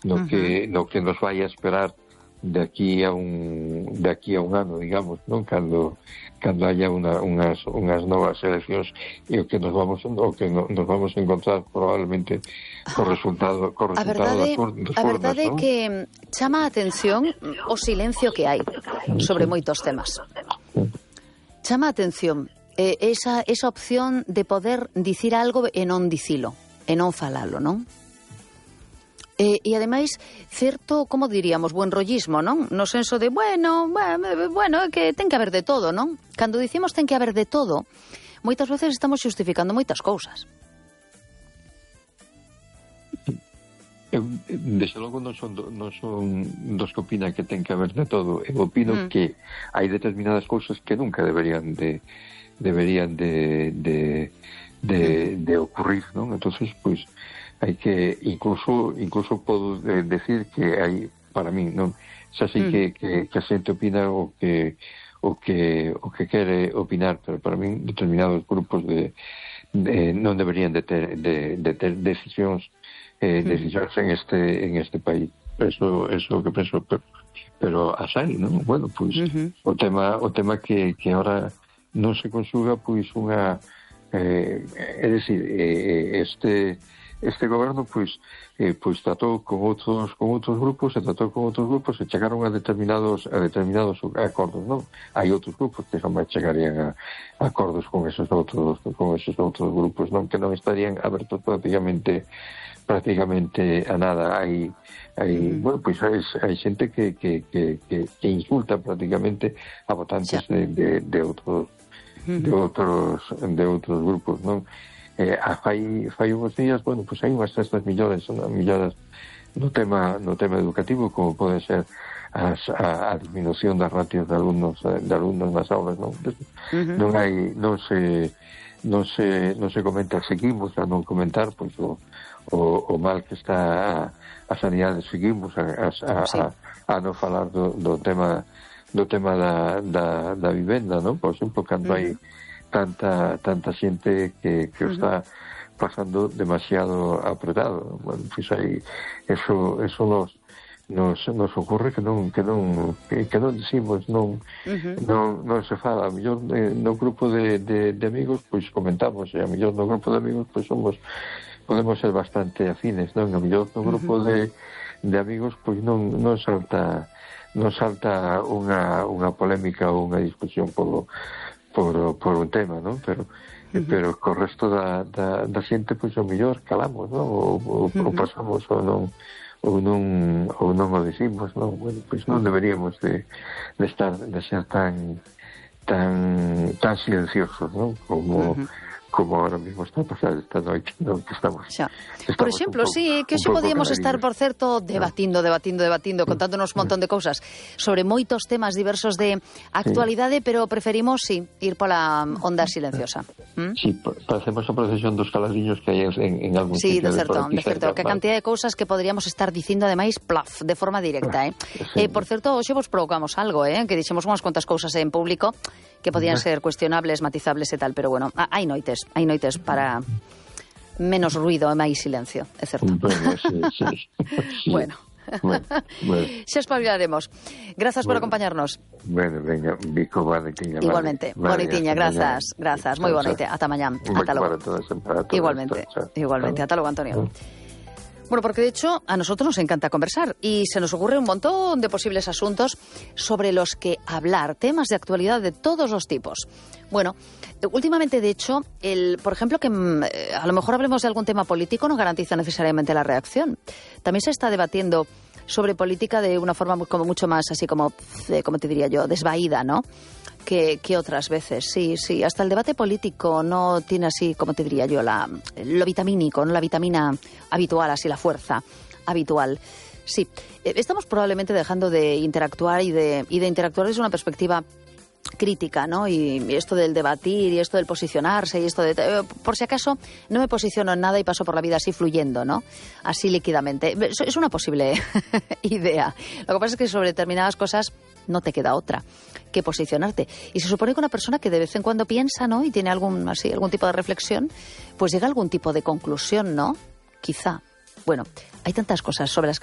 no que nos vai a esperar de aquí a un ano, digamos, non? Cando haya unhas novas eleccións e o que nos vamos a encontrar probablemente co resultado a verdade é que chama a atención o silencio que hai sobre moitos temas. Chama a atención esa opción de poder dicir algo e non dicilo, e non falalo, non? E ademais, certo, como diríamos, buen rollismo, non? No senso de, bueno, que ten que haber de todo, non? Cando dicimos ten que haber de todo, moitas veces estamos xustificando moitas cousas. Desde logo non son dos que opinan que ten que haber de todo. Eu opino que hai determinadas cousas que nunca deberían de ocurrir, non? Entonces, pois, hai que incluso podo decir que hai, para min, non, xa sei que a xente opina o que quere opinar, pero para min determinados grupos non deberían de ter decisións en este país. Eso é o que penso, pero as hai, non? Bueno, pois o tema que ahora non se consuga, pois unha é dicir, este goberno pois tratou con outros grupos e chegaron a determinados acordos, non? Hai outros grupos que jamás chegarían a acordos con esos outros grupos, non? Que non estarían abertos prácticamente a nada. Bueno, pois hai xente que insulta prácticamente a votantes de outros grupos, non? Fai uns días, bueno, pois hai unhas cestas millores no tema educativo, como pode ser a disminución das ratios de alumnos nas aulas, non? Non se comenta, seguimos a non comentar, pois o mal que está a sanidade, seguimos a non falar do tema da vivenda, non? Por exemplo, cando hai tanta xente que está pasando demasiado apretado. Bueno, pois aí eso nos ocurre que non decimos, non se fala. A mellor no grupo de amigos pois comentamos, e a mellor no grupo de amigos pois podemos ser bastante afines, non? A mellor no grupo de amigos pois non salta unha polémica ou unha discusión por un tema, non? Pero co resto da xente pois o mellor calamos, non? Ou pasamos ou non o decimos, non? Bueno, pois non deberíamos de ser tan silenciosos, non? Como ahora mismo está a pasar esta noite, non? Que estamos por exemplo, sí, que hoxe podíamos estar, por certo, debatindo, contándonos un montón de cousas sobre moitos temas diversos de actualidade, pero preferimos, ir pola onda silenciosa. Sí, facemos a procesión dos caladiños que hai en algún sitio. Sí, de certo, que a cantidad de cousas que poderíamos estar dicindo, ademais, de forma directa, Por certo, hoxe vos provocamos algo, que dixemos unhas cuantas cousas en público que podían ser cuestionables, matizables e tal, pero bueno, hai noites para menos ruido e máis silencio, é certo. Sí. Bueno. Xa espabilaremos. Grazas por acompañarnos. Bueno, venga, Vico, bonitiña. Igualmente, bonitiña, grazas. Moi boa noite, ata mañá. Ata logo. Igualmente, ata logo, Antonio. Bueno, porque de hecho a nosotros nos encanta conversar y se nos ocurre un montón de posibles asuntos sobre los que hablar, temas de actualidad de todos los tipos. Bueno, últimamente, de hecho, por ejemplo, que a lo mejor hablemos de algún tema político no garantiza necesariamente la reacción. También se está debatiendo sobre política de una forma como mucho más así como te diría yo, desvaída, ¿no? Que otras veces, sí, hasta el debate político no tiene así, como te diría yo, lo vitamínico, no la vitamina habitual, así la fuerza habitual. Sí, estamos probablemente dejando de interactuar y de interactuar desde una perspectiva crítica, ¿no? Y esto del debatir y esto del posicionarse y esto de... por si acaso no me posiciono en nada y paso por la vida así fluyendo, ¿no? Así líquidamente. Es una posible idea. Lo que pasa es que sobre determinadas cosas no te queda otra que posicionarte. Y se supone que una persona que de vez en cuando piensa, ¿no? Y tiene algún tipo de reflexión, pues llega a algún tipo de conclusión, ¿no? Quizá. Bueno, hay tantas cosas sobre las que